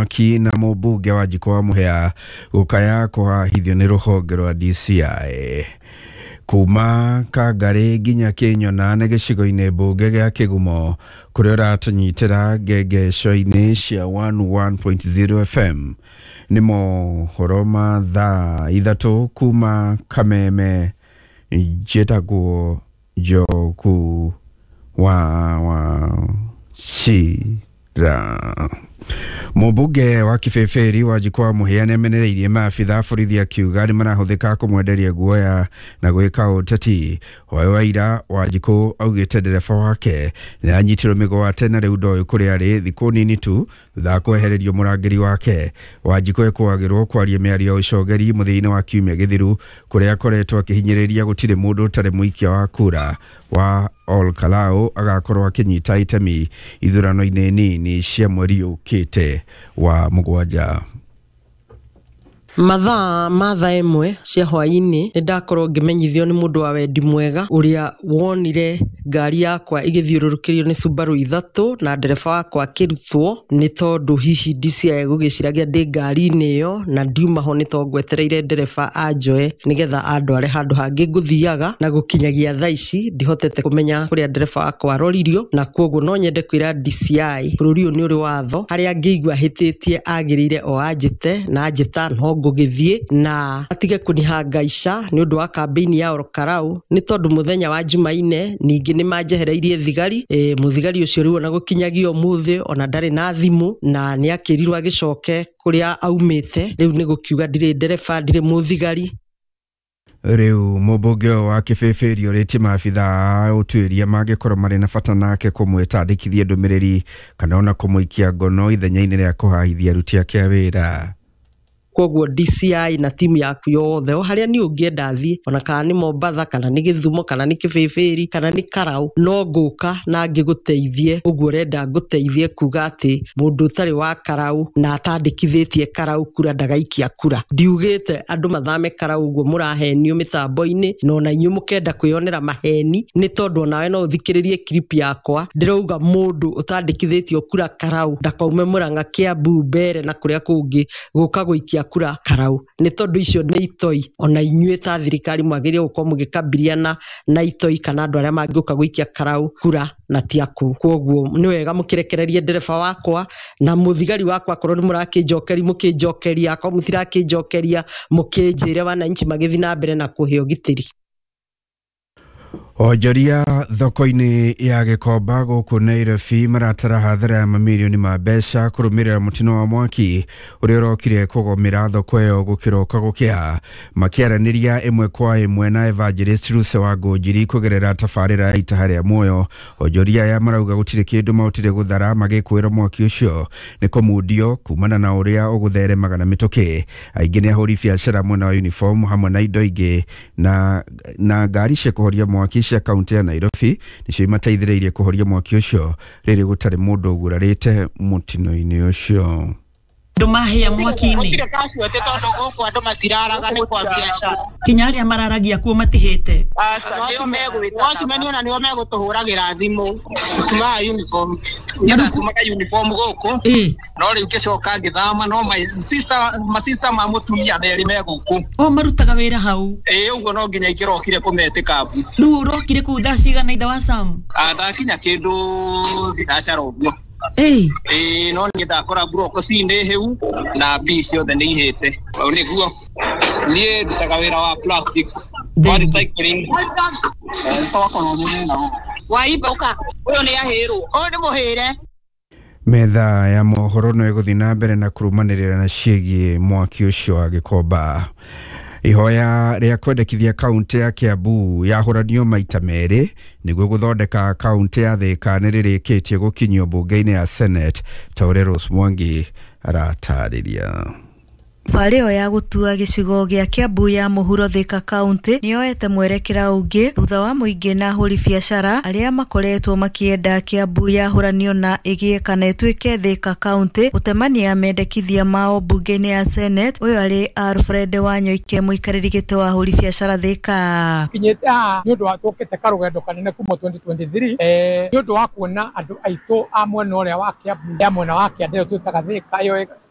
Mwaki na mũmbunge wa Njikũ wa Mũhĩa gũkaya kũhahithio nĩ rũhonge rwa DCI. Kuma Kangarĩ nginya Kĩnyona nĩ gĩcigo-inĩ mbunge gĩa Kĩgumo kũrĩa ũratũnyitĩra ngengesho-inĩ cia 101.0 FM. Nĩ mohoro ma thaa 3 kuma Kameme. Njĩtagwo Njoku wa Wachira. Mũmbunge wa Kĩbĩbĩri wa Njikũ wa Mũhĩa nĩamenereirie maabitha a borithi akiuga nĩ marahũthĩka kũmwenderia guoya na gwĩka ũteti. Hwaĩ wa ira Wanjikũ augĩte ndereba wake nĩ anyitirwo mĩgwate na rĩu ndoĩ kũrĩa arĩ thikũ nini tu thutha wa kwehererio mũrangĩri wake. Wanjikũ ekũagĩrwo kwaria mĩario ya ũcogeri mũthia-inĩ wa kiumia gĩthiru kũrĩa akoretwo akĩhinyĩrĩria gũtirĩ mũndũ ũtarĩ mũikia wa kura wa Ol Kalou agakorwo akĩnyita itemi ithurano-inĩ nini cia mweri ũkĩte wa 7. Mathaa ma thaa 1 cia hwaĩ-inĩ nĩ ndakorwo ngĩmenyithio nĩ mũndũ wa wendi mwega ũrĩa wonire ngari yakwa ĩgĩthiũrũrũkĩrio nĩ Subaru 3 na ndereba wakwa akĩrutwo nĩ tondũ hihi DCI egũgĩciragia ndĩ ngari-inĩ ĩyo na ndiuma ho nĩ tondũ ngwetereire ndereba anjoe nĩgetha andware handũ hangĩ ngũthiaga, na gũkinyagia thaa ici ndihotete kũmenya kũrĩa ndereba wakwa aroririo, na kwoguo no nyende kwĩra DCI bũrũri ũyũ nĩ ũrĩ watho harĩa angĩigua ahĩtĩtie agĩrĩire o anjĩte na anjĩta no ngũgĩthiĩ na atige kũnihangaica nĩ ũndũ wa kambĩini ya Ol Kalou nĩ tondũ mũthenya wa Jumaine ningĩ nĩ manjehereirie thigari. Mũthigari ũcio rĩu ona gũkinyagia ũmũthĩ ona ndarĩ na thimũ na nĩ akĩrirwo agĩcoke kũrĩa aumĩte. Rĩu nĩ gũkiuga ndirĩ ndereba, ndirĩ mũthigari. Rĩu mũmbunge ũyũ wa Kĩbĩbĩri ũrĩtie maabitha a ũtuĩria mangĩkorwo marĩ na bata nake kũmwĩta andĩkithie ndũmĩrĩri kana ona kũmũikia ngono ithenya-inĩ rĩa kũhahithia aruti ake a wĩra. Koguo DCI na timu yaku yothe o harĩa niĩ ũngĩenda thiĩ, ona kana nĩ Mombatha kana nĩ Gĩthumo kana nĩ Kĩbĩbĩri kana nĩ Karau, no ngũka na ngĩgũteithie ũguo ũrenda ngũteithie, kuga atĩ mũndũ ũtarĩ wa Karau na atandĩkithĩtie Karau kura ndagaikia kura. Ndiugĩte andũ mathame Karau ũguo mũrahenio mĩtambo-inĩ na ona inyuĩ mũkenda kwĩyonera maheni, nĩ tondũ onawe no ũthikĩrĩrie clip yakwa ndĩrauga mũndũ ũtandĩkithĩtio kura Karau ndakaume Mũrang'a, Kiambu, Mbere na kũrĩa kũngĩ gũka gũikia kura Karau, nĩ tondũ icio nĩ itoi. Ona inyuĩ ta thirikari mwagĩrĩire gũkorwo mũgĩkabiliana na itoi kana andũ arĩa mangĩũka gũikia Karau kura na ti aku. Koguo nĩ wega mũkĩrekererie ndereba wakwa na mũthigari wakwa, akorwo nĩ mũrakĩnjokeria mũkĩnjokeria, akorwo mũtirakĩnjokeria mũkĩnjĩre wananchi magĩthiĩ na mbere na kũhe ũgitĩri. Onjoria thoko-inĩ ya Gĩkomba gũkũ Nairobi maratara hathara ya mamirioni ma mbeca kũrũmĩrĩra mũtino wa mwaki ũrĩa ũrokire kũgomera thoko ĩyo gũkĩroka gũkĩa. Makĩaranĩria ĩmwe kwa ĩmwe na Evangelist Ruse wa Ngũnjiri kũgerera tabarĩra ya Itaha rĩa Muoyo, onjoria aya marauga gũtirĩ kĩndũ mahotire gũthara magĩkwĩra mwaki ũcio nĩ kũmundio kumana na ũrĩa ũgũtheremaga na mĩtũkĩ. Aingĩ nĩ ahũri biacara mwena wa uniform hamwe na indo ingĩ na ngari cia kũhoria mwaki cia kaunti ya Nairobi nĩcio imateithĩrĩirie kũhoria mwaki ũcio rĩrĩ gũtarĩ mũndũ ũgurarĩte mũtino-inĩ ũcio. Andũ mahĩa mwaki-inĩ. Gũtirĩ casualty tondũ gũkũ andũ matiraraga nĩ kwa biacara. Kinya arĩa mararagia kuo matihĩte. Aca, nĩo megwĩta. Watchman ona nĩo megũtũhũragĩra thimũ. Tumaga uniform. Nĩ Nĩndatumaga uniform gũkũ. No rĩu ngĩcoka ngĩthama, no masista ma mũtumia merĩ me gũkũ. O marutaga wĩra hau. Ĩĩ, ũguo no nginya ingĩrokire kũmetĩka mbu. Rĩu ũrokire kũu thaa cigana ithe wa Sam? Ndakinya kĩndũ thinacara ũguo. Ĩĩ, no niĩ ndakora mburoko ci nĩ hĩu na mbia ciothe nĩ ihĩte. Ũũ nĩguo. Niĩ ndutaga wĩra wa plastics, wa recycling. Twakorwo mũnene ũũ. Waimba ũka. Ũyũ nĩ ahĩrwo. Ũyũ nĩ mũhĩre. Metha ya mohoro no ĩgũthiĩ na mbere na kũrũmanĩrĩra na ciĩgiĩ mwaki ũcio wa Gĩkomba. Ihoya rĩa kwendekithia kaunti ya Kiambu yahũranio maita merĩ nĩguo gũthondeka kaunti ya Thika nĩ rĩrĩkĩtie gũkinyio mbunge-inĩ ya Senate ta ũrĩa Rose Mwangi aratarĩria. Thabarĩ ĩyo ya gũtua gĩcigo gĩa Kiambu ya mũhuro Thika County nĩyoete mwerekera ũngĩ thutha wa mũingĩ na ahũri biacara arĩa makoretwo makĩenda Kiambu yahũranio na ĩgĩe kana ĩtuĩke Thika County gũtemania mendekithia mao mbunge-inĩ ya Senate. Ũyũ arĩ Alfred Wanyoike mũikarĩri gĩtĩ wa ahũri biacara Thika. Kinyĩte haha nĩ ũndũ wa tũkĩte karũgendo kanene kuma 2023, nĩ ũndũ wa kuona andũ aitũ a mwena ũrĩa wa Kiambu ya mwena wa kĩanda ĩyo twĩtaga Thika ĩyo.